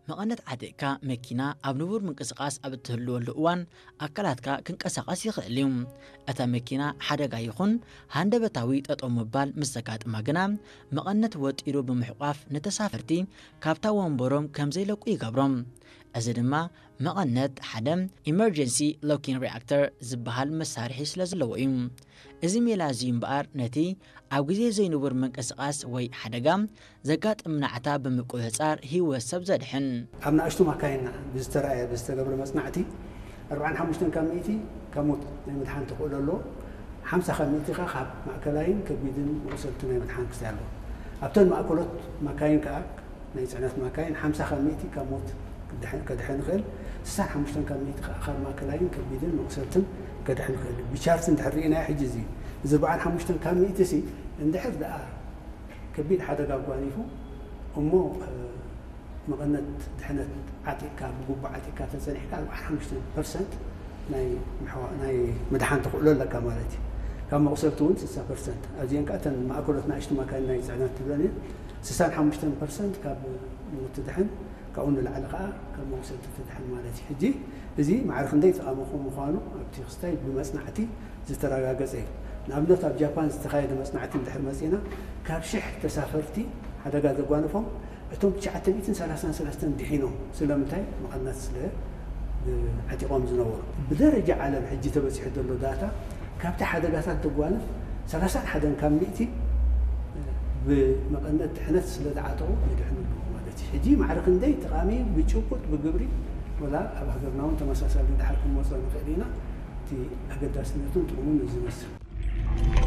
መቐነት ዓጢቕካ መኪና ኣብ ንቡር ምንቅስቓስ ኣብ እትህልወሉ እዋን ኣካላትካ ክንቀሳቐስ ይኽእል እዩ። እታ መኪና ሓደጋ ይኹን ሃንደበታዊ ጠጠው ምባል ምስ ዘጋጥማ ግና መቐነት ወጢሩ ብምሕቋፍ ንተሳፈርቲ ካብታ ወንበሮም ከም ዘይለቁ ይገብሮም። እዚ ድማ መቐነት ሓደ ኢመርጀንሲ ሎኪንግ ሪያክተር ዝበሃል መሳርሒ ስለ ዘለዎ እዩ። እዚ ሜላ እዚ እምበኣር ነቲ ኣብ ግዜ ዘይንቡር ምንቅስቓስ ወይ ሓደጋ ዘጋጥም ናዕታ ብምቁጽጻር ህይወት ሰብ ዘድሕን። ኣብ ንኣሽቱ ማካይን ብዝተረኣየ ብዝተገብረ መጽናዕቲ ኣርባዓን ሓሙሽተን ካብ ሚእቲ ካብ ሞት ናይ ምድሓን ተኽእሎ ኣለዎ። ሓምሳ ካብ ሚእቲ ከኣ ካብ ማእከላይን ከቢድን መቑሰልቲ ናይ ምድሓን ክስታይ ኣለዎ። ኣብተን ማእከሎት ማካይን ከኣ ናይ ጽዕነት ማካይን ሓምሳ ካብ ሚእቲ ካብ ሞት ክድሕን ከድሕን ይኽእል። ስሳን ሓሙሽተን ካብ ሚእቲ ከኣ ካብ ማእከላይን ከቢድን መቑሰልትን ከድሕን ይኽእል። ብቻርት እንድሕር ርኢናዮ ሕጂ እዚ እዚ ኣርባዓን ሓሙሽተን ካብ ሚእቲ ሲ እንድሕር ደኣ ከቢድ ሓደጋ ኣጓኒፉ እሞ መቐነት ድሕነት ዓጢቕካ ብግቡእ ዓጢቕካ ተጸኒሕካ ኣርባዓን ሓሙሽተን ፐርሰንት ናይ ምድሓን ተኽእሎ ኣለካ ማለት እዩ። ካብ መቑሰልቲ እውን ስሳ ፐርሰንት ኣብዚአን ከዓ እተን ማእከሎት ንኣሽቱ ማካይን ናይ ፅዕነት ትብለን እየን። ስሳን ሓሙሽተን ፐርሰንት ካብ ሞት ትድሕን ካብኡ ንላዕሊ ከዓ ካብ መቑሰልቲ ትድሕን ማለት እዩ። ሕጂ እዚ ማዕረ ክንደይ ጠቓሚ ምዃኑ ኣብቲ ክስታይ ብመፅናዕቲ ዝተረጋገፀ እዩ። ንኣብነት ኣብ ጃፓን ዝተኻየደ መፅናዕቲ እንድሕር መፂና ካብ ሽሕ ተሳፈርቲ ሓደጋ ዘጓነፎም እቶም ትሽዓተ ሚእትን ሰላሳን ሰለስተን ድሒኖም ስለምንታይ መቐነት ስለ ዓጢቖም ዝነበሩ። ብደረጃ ዓለም ሕጂ ተበፂሑ ዘሎ ዳታ ካብቲ ሓደጋታት ተጓንፍ ሰላሳን ሓደን ካብ ሚእቲ ብመቐነት ድሕነት ስለ ዝዓጠቑ ይድሕኑ ኣለዉ ማለት እዩ። ሕጂ ማዕረ ክንደይ ጠቓሚ ብጭቡጥ ብግብሪ ወላ ኣብ ሃገርና እውን ተመሳሳሊ ድሓር ክንመፅኦ ንኽእል ኢና። እቲ ኣገዳስነቱን ጥቕሙን እዚ ይመስል።